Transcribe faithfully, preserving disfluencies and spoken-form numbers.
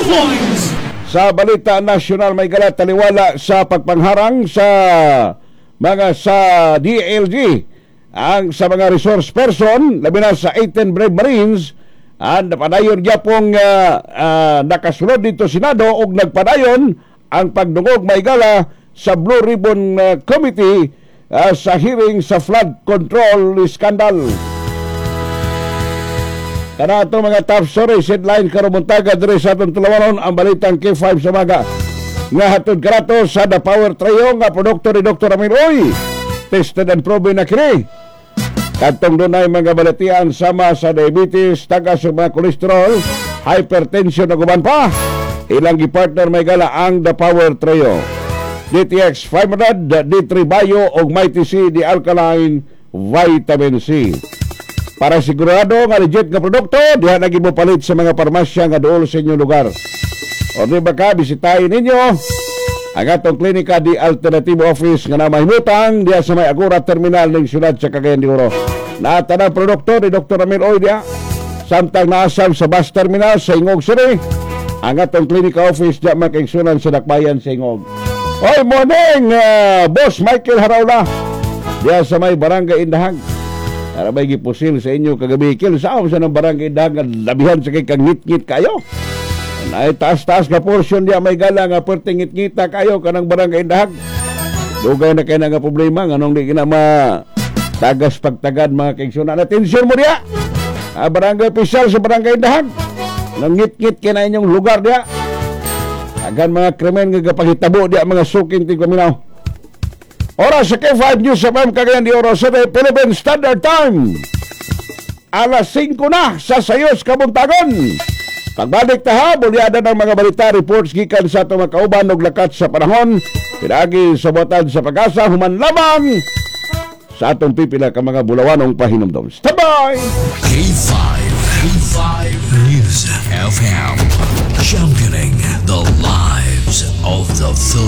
Headlines. Sa balita nasyonal, may gala, taliwala sa pagpangharang sa mga sa D I L G ang sa mga resource person, labi na sa eighteen Brave Marines, ang napadayon gyapong uh, uh, nakasulod dito Senado ug nagpadayon ang pagdungog, may gala, sa Blue Ribbon uh, Committee uh, sa hearing sa flood control scandal. Kana ato mga top stories, headline karong buntaga diri sa atong tulawanon, ang balitang K five sa umaga. Nga hatod kanato sa The Power Trio nga produkto ni Doctor Ramil Uy. Tested and proven na kini. Kadtong dunay mga balatian sama sa diabetes, tagas sa mga kolesterol, hypertension ug uban pa. Ilang gi-partner, may gala, ang The Power Trio. D T X five hundred, D three Bio ug Mighty C, the Alkaline Vitamin C. Para sigurado nga legit nga produkto, diha na mo palit sa mga parmasya nga duol sa inyong lugar. O di ba ka, bisitahin ninyo ang atong klinika di Alternativo Office nga namahimutang diha sa may Agora Terminal ng siyudad sa Cagayan de Oro. Naa tanang produkto ni Doctor Ramil Oy diha. Samtang naasam sa bus terminal sa Gingoog City, ang atong klinika office diha, mga kaigsunan, sa Dakbayan sa Gingoog. Oy, morning, uh, Boss Michael Haraula. Diha sa may Barangay Indahag. Para may gipusil sa inyo kagabi. Kil, saan sa ng Barangay Indahag nga labihan sa kay kang ngit-ngit kayo? Ay, taas-taas nga portion diya, may gala, nga perting ngit-ngita kayo kanang Barangay Indahag. Dugay na kay na nga problema nganong di kina ma tagas pagtagad, mga kaigsunan. Atensyon mo diya. Ah, barangay official sa Barangay Indahag. Nangit-ngit kay na inyong lugar diya. Agan mga krimen nga gapahitabo diya, mga suking tigpaminaw. Oras sa K five News F M Cagayan de Oro City, Philippine Standard Time. Alas singko na sa sayos kabuntagon. Pagbalik ta ha, bulyada ng mga balita, reports gikan sa atong mga kauban og lakat sa panahon. Pinagi sa buhatan sa Pag-asa, human lamang sa atong pipila ka mga bulawanong pahinumdom. Standby! K five, K five News F M. Championing the lives of the Philippines.